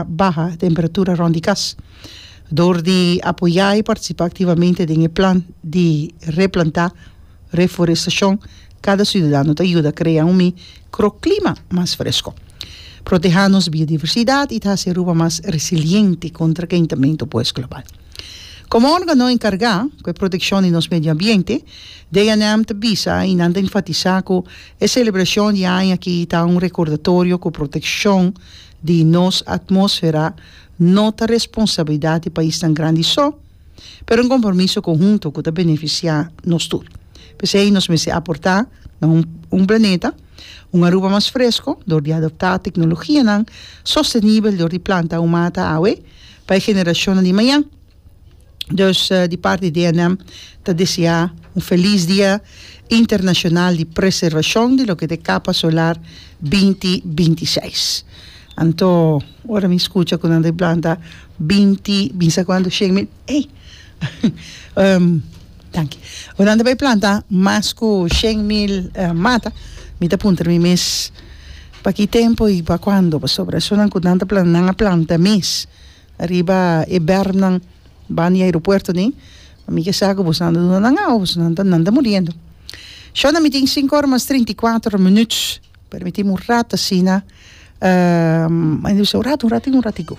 Baha temperatura rond di kas. Dor di apoyá i partisipá aktivamente den e plan di replantá, reforestashon, kada siudadano ta yuda krea un mikroklima mas fresko, protehá nos biodiversidat i ta hasi Aruba mas resiliente kontra kentamentu pues global. Komo órgano enkargá ku e protekshon di nos medio ambiente, DNM ta bisa i nan ta enfatisá ku e selebrashon di aña aki ta un rekordatorio ku protekshon di nos atmósfera no ta responsabilidat di paisnan grandi so, pero un kompromiso konhunto ku ta benefisiá nos tur. P'esei nos mester aportá na un un planeta, un Aruba mas fresko dor di adoptá teknologianan sostenibel dor di planta un mata awe pa e generashonnan di mañan. Dus di parti di DNM ta deseá un felis dia internashonal di preservashon di loke ta e kapa solar binti 26. Anto ora mi skucha ku nan ta planta binti bisa kuantu 100.000 ey danki ora nan ta bai planta mas ku 100.000 mata mi ta puntra mi mes pa ki tempu i pa kuando pasobra esunnan ku nan ta planta nan a planta mes. Riba e bermnan ban di aeropuerto ni, mi ke sa ku boso nan ta duna nan awa, boso nan ta nan ta muriendo. Shona mi tin sinku ora mas 34 minuut, permitimi un rato asina, un rato, un ratico, un ratico.